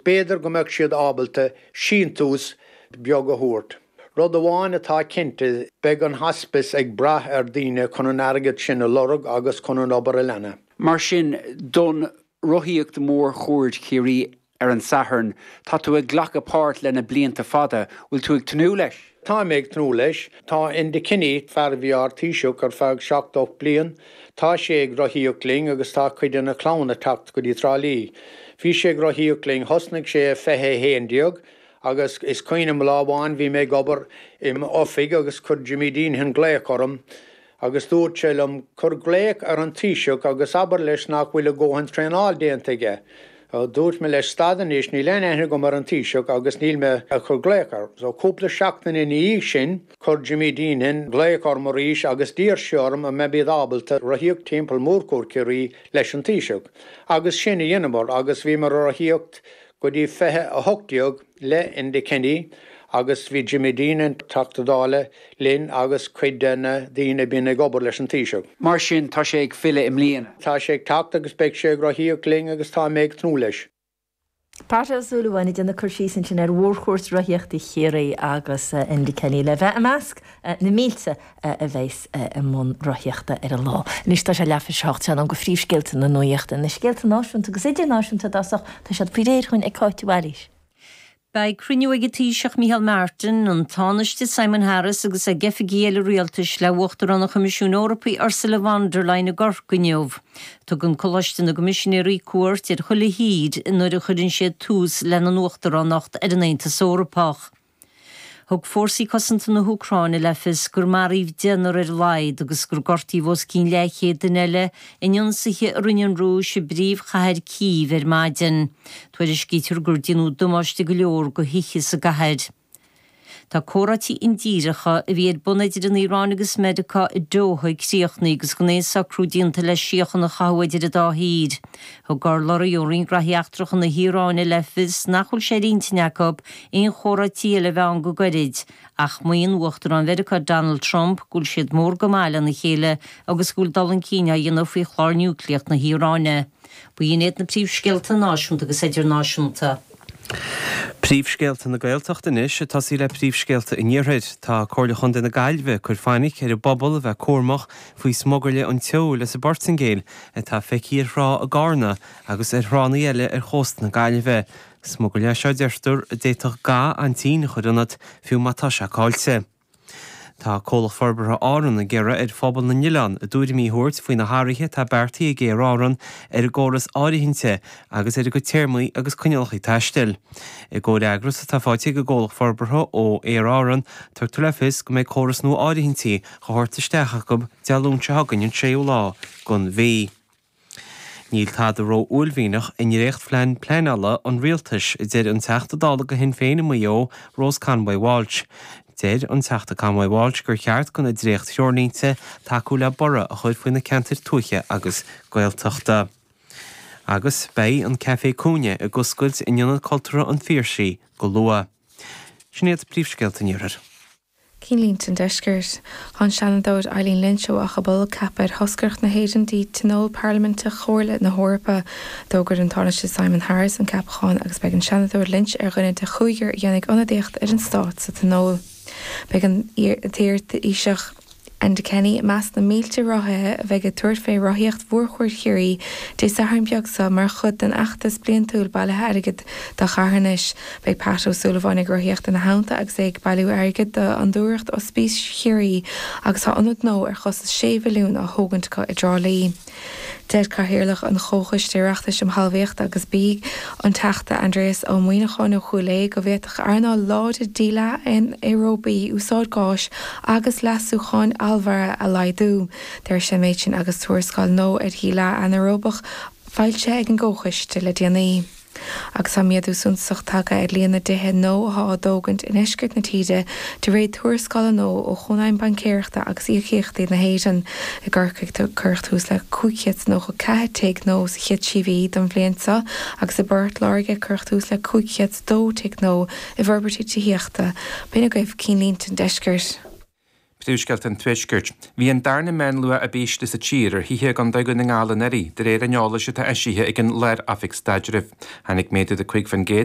B'fhéidir go mbeadh siad ábalta síntiús beag a thabhairt. Rud amháin atá cinnte, beidh an hospice ag brath ar daoine chun an airgead sin a lorg agus chun an obair a leanadh. Mar sin, don rothaíocht Mhórchuaird Chiarraí ar an Satharn, tá tú ag glacadh páirt le na blianta fada, bhfuil tú ag tnúth leis? Tá mé ag tnúth leis. Tá Enda Kenny, fear a bhí ár Taoiseach ar feadh 78 bliain, tá sé ag rothaíocht linn agus tá cuid de na clann ag teacht go dtí Trá Lí. Bhí sé ag rothaíocht linn, thosnaigh sé i 2011 agus is cuimhin liom lá amháin bhí mé ag obair i m'oifig agus chuir Jimmy Deenihan glaoch orm Agus dúirt sé liom, Cuir glaoch ar an Taoiseach agus abair leis nach bhfuil a dhóthain traenáil déanta aige. Dúirt mé leis, Stad anois, níl aon aithne agam ar an Taoiseach agus níl mé ag cur glaoch air. So cúpla seachtain ina dhiaidh sin, chuir Jimmy Deenihan glaoch orm arís agus d'iarr sé orm an mbeimid ábalta rothaíocht timpeall Mhórchuaird Chiarraí leis an Taoiseach. Agus sin a dheineamar agus bhíomar ag rothaíocht go dtí 2018 le Enda Kenny agus bhí Jimmy Deenihan, Teachta Dála, linn agus cuid de na daoine a bíonn ag obair leis an Taoiseach. Mar sin, tá sé ag filleadh i mbliana. Tá sé ag teacht agus beidh sé ag rothaíocht linn agus tá mé ag tnúth leis. Pat Ó Súilleabháin ag déanamh cur síos ansin ar mhórchuairt rothaíochta Chiarraí agus Enda Kenny le bheith i measc na mílte a bheas i mbun rothaíochta ar an lá. Anois tá sé leathuair tar éis a hocht, sé in am do phríomhscéalta na nuachta, na scéalta náisiúnta agus idirnáisiúnta i dtosach, tá siad faoi réir chugainn ag Cáit Mhaoilís. Beidh cruinniú ag an Taoiseach Micheál Martin, an Tánaiste Simon Harris agus ag oifigigh eile rialtais le Uachtarán an Choimisiúin Eorpaigh Ursula von der Leyen i gCorcaigh inniu. Tugann Coláiste na gCoimisinéirí cuairt ar chuile thír nuair a chuireann siad tús lena n-uachtaránacht ar an Aontas Eorpach. Thug fórsaí cosanta na hÚcráine le fios gur maraíodh deichniúr ar a laghad agus gur gortaíodh os cionn leathchéad duine eile in ionsaithe a rinne an Rúis i bpríomhchathair Cív ar maidin. Tuairiscítear gur déanadh damáiste go leor do thithe sa gcathair. Tá comhráití indíreacha a bhí ar bun idir an Iaráin agus Meiriceá i Doha críochnaithe agus gan aon socrú déanta le síocháin a chothú idir an dá thír. Thug urlabhraí ó Roinn Graithí Eachtracha na hIaráine le fios nach bhfuil sé ar intinn acu aon chomhráití eile a bheith ann go gairid, ach maíonn Uachtarán Mheiriceá Donald Trump go bhfuil siad mór go maith lena chéile agus go bhfuil dul chun cinn á dhéanamh faoi chlár núicléach na hIaráine. B'in iad na príomhscéalta náisiúnta agus idirnáisiúnta. Príomhscéalta na Gaeltachta anois, ag tosaí le príomhscéalta an Iarthair. Tá Comhairle Chontae na Gaillimhe ag cur fainic ar an bpobal a bheith cúramach faoi smugairle an tseoil as an bPortaingéil atá feicthe ar thrá i gCarna agus ar thránna eile ar chósta na Gaillimhe. Smugairle é seo, a deirtear, a d'fhéadfadh ga aintín a chur ionat, fiú má tá seiceáilte. Tá Comhlacht Forbartha Árann ag iarraidh ar phobal na n-oileán a dtuairimí a thabhairt faoi na hathruithe atá beartaithe ag Aer Árann ar an gcóras áirithinte agus ar a gcuid téarmaí agus coinníollacha taistil. I gcomhfhreagras atá faighte ag an gComhlacht Forbartha ó Aer Árann, tugtar le fios go mbeidh córas nua áirithintí á thabhairt isteach acu Dé Luain seo chugainn an séú lá den mhí. Níl tada ró-uaillmhianach i ndréachtphlean pleanála an rialtais, a deir an Teachta Dála do Shinn Féin i Maigh Eo, Rose Conway Walsh. Deir an Teachta Conway Walsh gur cheart do na dréacht-threoirlínte tacú le borradh a chur faoi na ceantair tuaithe agus Gaeltachta. Agus beidh an Café Cúinne ag oscailt in Ionad Cultúrtha an Phiarsaigh go luath. Sin iad príomhscéalta an Iarthair. Cinnlínte an Deiscirt. Tá an Seanadóir Eileen Lynch ó Achadh Bolg ceaptha ar thoscaireacht na hÉireann dtí Tionól Parlaiminteach Chomhairle na hEorpa. D'fhógair an Tánaiste Simon Harris an ceapachán agus beidh an Seanadóir Lynch ar dhuine de chúigear a dhéanfaidh ionadaíocht ar an stát sa Tionól. Beidh an t-iar-Thaoiseach Enda Kenny i measc na mílte rothaithe a bheidh ag tabhairt fé rothaíocht Mhórchuaird Chiarraí Dé Sathairn beag seo mar chuid den fheachtas bliantúil bailithe airgid do charthanais. Beidh Pat Ó Súilleabháin ag rothaíocht ina theannta agus é ag bailiú airgid do Fhondúireacht Ospís Chiarraí agus tá ionad nua ar chostas 6 mhilliún á thógaint acu i dTrá Lí. Deir Cathaoirleach an Chomhchoiste Oireachtais um Thalmhaíocht agus Bia, an Teachta Aindrias Ó Muimhneacháin ó Chúil Aodha, go bhféadfadh earnáil láidir díleá anaeróbaí úsáid gáis agus leasúcháin allmhairithe a laghdú. Deir sé an méid sin agus tuarascáil nua ar dhíleá anaeróbach foilsithe ag an gComhchoiste le déanaí. Agus tá méadú suntasach tagtha ar líon na dtithe nua atá á dtógaint i ndeisceart na tíre de réir tuarascála nua ó Chónaidhm Baincéireachta agus Íocaíochtaí na hÉireann. I gCorcaigh cuireadh tús le 594 tigh nua sa chéad trí mhí den bhliain seo agus i bPort Láirge cuireadh tús le 502 tigh nua i bhforbairtí tithíochta. B'in agaibh cinnlínte an deiscirt. Príomhscéalta an Tuaiscirt. Bhí an darna meánluach ab ísle sa tír ar thithe i gContae Dhún na nGall anuraidh, de réir an eolais atá eisithe ag an Lár-Oifig Staidrimh. Tháinig méadú de 5%.